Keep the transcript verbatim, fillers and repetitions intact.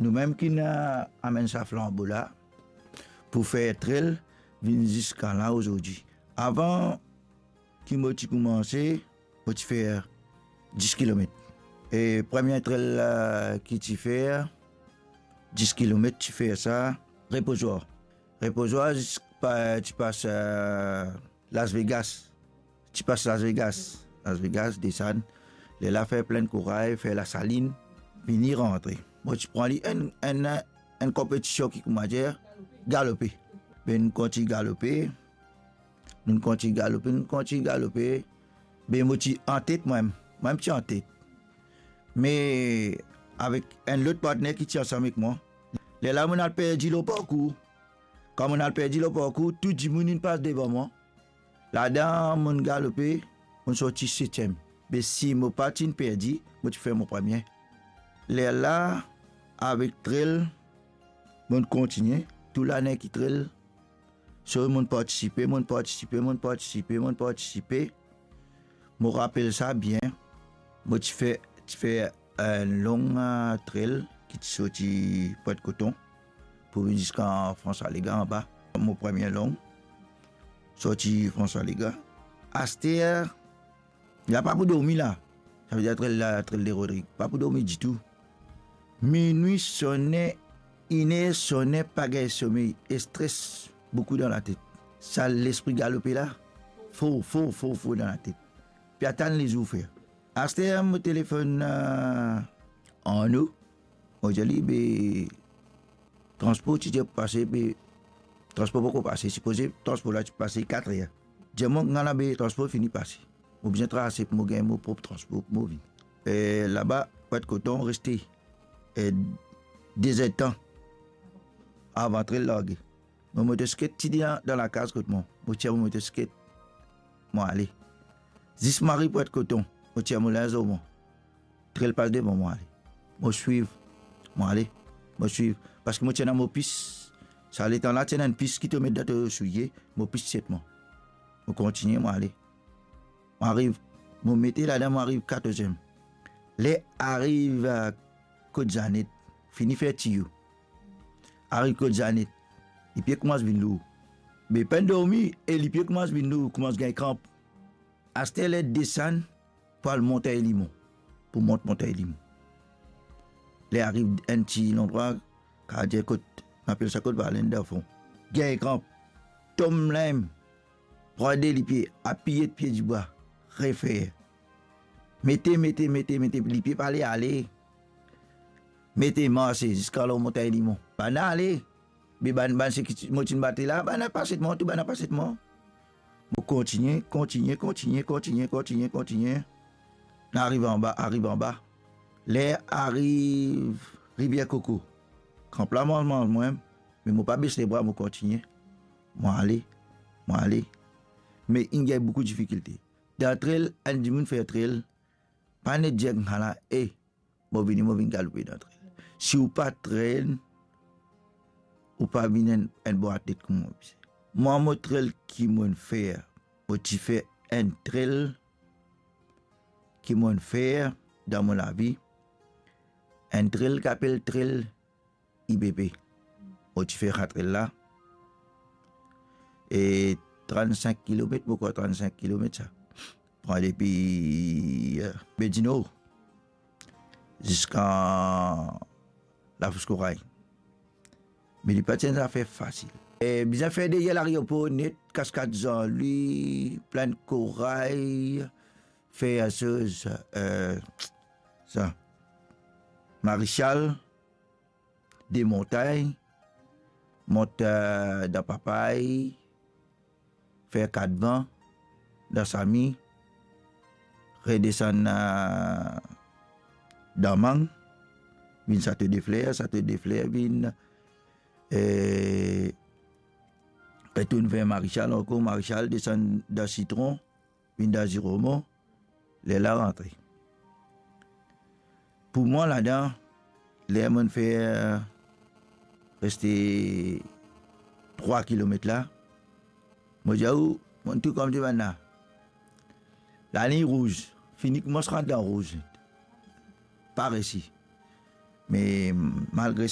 Noumem ki'nn, eh, amenn sa flanbo la pou fer trel vinn ziska la azordi. Avan ki mo ti koumanse, mo ti fer dis kilomet. E premie trel, eh, ki ti fer dis kilomet, ti fer sa Repozwar. Repozwar zis pa, ti pas, eh, Las Vegas. Ti pas Las Vegas. Las Vegas, desann. Lerla fer Plinn Koray, fer Lasalinn, vini rantre. Mo ti pran li enn, enn, enn konpetision ki, koumadir, galope. Be nou kontign galope. Nou kontign galope, nou kontign galope. Be mo ti antet mwa mem. Mwa mem ti antet. Me avek enn lot partner ki ti ansam ek mwa. Lerla mo'nn al perdi lor parkour. Kan mo'nn al perdi lor parkour, tou dimounn inn pas devan mwa. Ladan mo'nn galope, mo'nn sorti setiem. Be si mo pa ti'nn perdi, mo ti fer mo premie. Lerla, avek trel, mo'nn kontigne, tou lane ki trel. So, mo'nn partisipe, mo'nn partisipe, mo'nn partisipe, mo'nn partisipe. Mo rapel sa bien. Mo ti fer, ti fer enn long, eh, trel ki ti sorti Pwent Koton pou vinn ziska Fransa Lega anba. Mo premie long, sorti Fransa Lega. Aster, la pa pou dormi la. Savedir trel la, trel de Rodrig. Pa pou dormi ditou. Minwi sone, iner sone, pa gagn somey, stres boukou dan latet. Sa lespri galope la, for, for, for, for dan latet. Pe atann lezour fer. Aster mo telefonn, eh, Arno. Mo dir li, be, transpor ti dir pou pase, be, transpor poko pase. Sipoze transpor la ti pase katrer. Dir mwa, nana be, transpor fini pase. Mo bizin trase pou mo gagn mo prop transpor pou mo vini. Eh, laba, Pwent Koton reste, eh, dezertan avan trel large. Mo motosiklet ti dan, dan lakaz kot mwa. Mo tir mo motosiklet, mo ale. Zis mo ariv Pwent Koton, mo tir mo linz lor mwa. Trel pas devan, mo ale. Mo swiv, mo ale, mo swiv. Parski mo ti ena mo pis. Sa letan la ti ena enn pis ki to met dan to soulie, mo pis ti et mwa. Mo kontigne, mo ale. Mo ariv, mo mete ladan, mo ariv katorz-, ler ariv, eh, kot Zanet, fini fer tiyo. Ariv kot Zanet, lipie koumans vinn lour. Me pa'nn dormi e lipie koumans vinn lour, koumans gagn kranp. Aster ler desann pou al Montagn Limon, pou mont Montagn Limon. Ler ariv enn ti landrwa, kapav dir kot, nou apel sa kot Valenn dan fon. Gagn kranp, tom la mem, pran de lipie, apiye pie dibwa, refer. Mete, mete, mete, mete, lipie pa le ale. Mete, marse ziska lor Montagn Limon. Bann ale. Me bann, bann seki ti, mo ti'nn bat la, bann la pas et mwa, tou bann la pas et mwa. Mo kontigne, kontigne, kontigne, kontigne, kontigne, kontigne. Nou ariv anba, ariv anba. Ler ariv Rivier Koko, kranp la manz, manz mwa, me mo pa bes lebra, mo kontigne. Mo ale, mo ale. Me inn gagn boukou difikilte. Dan trel, enn dimoun fer trel, pa net dir koumsa la, "E, mo vini, mo vinn galoupe dan trel." Si ou pa trenn, ou pa vinn enn, enn bon atlet kouma mo bizin. Mwa, mo trel ki mo'nn fer, mo ti fer enn trel ki mo'nn fer dan mo lavi, enn trel ki apel trel I B P. Mo ti fer sa trel la. E trannsink kilomet, mo krwar trannsink kilomet sa. Pran depi, eh, Be Dinor ziska Lafous Koray. Me li pa ti enn zafer fasil. E bizin fer deryer lareopor net, Kaskad Zanlwi, Plinn Koray, fer soz, eh, sa, Marechal, demontay, mont, eh, dan Papay, fer Katvan, dan Sami, redesann, eh, dan Mang, vinn Sato de Fler, Sato de Fler vinn, eh, retourn ver Marechal ankor, Marechal desann dan Sitron, vinn dan Ziromon, lerla rantre. Pou mwa ladan, ler mo'nn fer reste trwa kilomet la, mo dir ou, mo'nn tou kouma bann la. Lalign rouz, fini koumans rant dan rouz. Pa resi. Me malgre